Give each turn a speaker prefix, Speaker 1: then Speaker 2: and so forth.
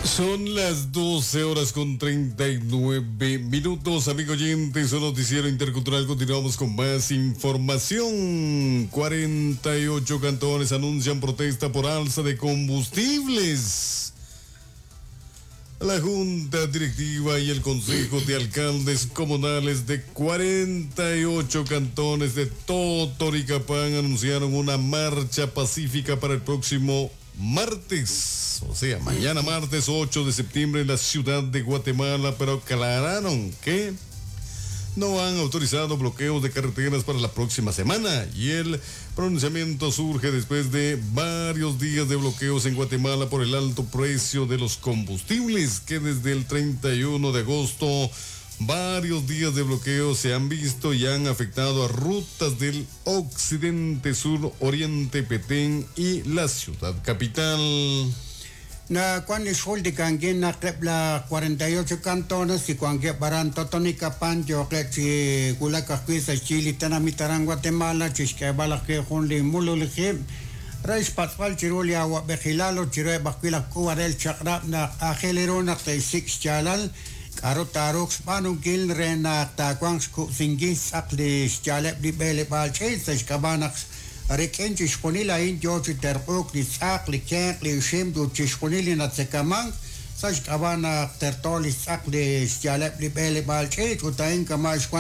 Speaker 1: Son las 12 horas con 39 minutos, amigo oyentes, un noticiero intercultural. Continuamos con más información. 48 cantones anuncian protesta por alza de combustibles. La Junta Directiva y el Consejo de Alcaldes Comunales de 48 cantones de Totonicapán anunciaron una marcha pacífica para el próximo martes, o sea, mañana martes 8 de septiembre en la ciudad de Guatemala, pero aclararon que no han autorizado bloqueos de carreteras para la próxima semana y el pronunciamiento surge después de varios días de bloqueos en Guatemala por el alto precio de los combustibles que desde el 31 de agosto varios días de bloqueo se han visto y han afectado a rutas del occidente, sur, oriente, Petén y la ciudad capital.
Speaker 2: Na kwan ixjultikankin naq eb' la 48 cantones y wankeb' aran Totonicapán yooqeb' chi wulak ajwi' sa' xyi li tenamit aran Guatemala chixk'eeb'al ajwi' jun li mululij ib' re xpatz'b'al chiru li awa'b'ejilal ut chiruheb' ajwi' laj k'uub'anel chaq'rab' naq aajel ru naq te'xsik' xyaalal k'a'ru taaruuq xb'aanunkil re naq taawanq xkub'sinkil xtz'aq li xyaaleb' li b'eleb'aal ch'iich' sa' xk'ab'a' naq rik'in chixjunil a'in yoo chi terq'uuk li tz'aq, li kenq', li ixim ut chixjunil li natzekamank sa' xk'ab'a' naq terto li xtz'aq li xyaaleb' li b'eleb'aal ch'iich' ut a'in kama' xwan.